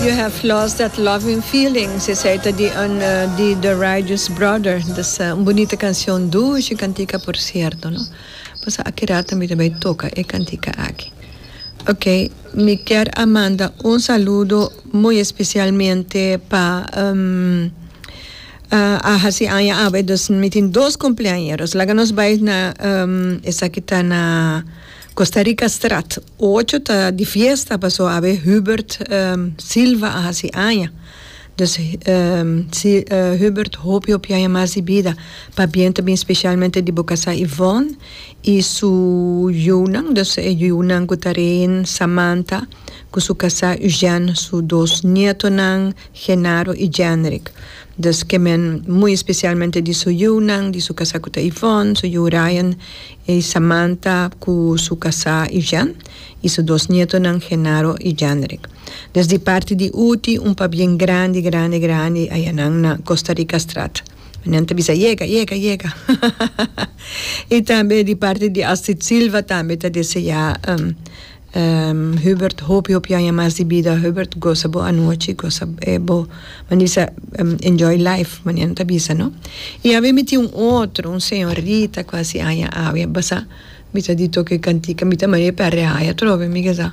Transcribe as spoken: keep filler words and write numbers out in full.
You Have Lost That Loving Feeling, esey ta di, un, uh, di The Righteous Brother. Dus, uh, un bunita cancion, dushi cantica, por cierto, no? Pues aki rato mi tambe toca e cantica aki. Ok, mi kier a manda un saludo muy especialmente pa um, uh, a hasi aña awe, dus mi tin dos cumpleaños. Laga nos bay na um, esaki ta na Costa Rica Straat. Ocho ta di fiesta, paso awe Hubert um, Silva a hasi aña. Dus um, si, uh, Hubert, hopi hopi aña mas di bida. Pabien tambe especialmente di bo casa Yvonne y su yiunan, dus e yiunan cu Taren, Samantha, cu su casa Eugene, su dos nietonan, Genaro y Jenrick. Dus kemen muy especialmente di su yiunan, di su casa cu ta Yvonne, su yiu Ryan y Samantha cu su casa Eugene y su dos nietonan, Genaro y Jenrick. Dus di parti di Uti, un pabien grandi, grandi, grandi, ayanan na Costa Rica Straat. Nan ta bisa, "Yega, yega, yega." Y tambe di parti di Astrid Silva tambe ta desea um, um, Hubert hopi hopi aña mas di bida. Hubert, goza bo anochi, goza eh, bo, manisa, um, enjoy life, manera ta bisa, no? Y awe mi tin un otro, un señorita cu a hasi aña awe, basa, mi ta di toca cantica, mi ta mane perde aña, trobe, mi sa.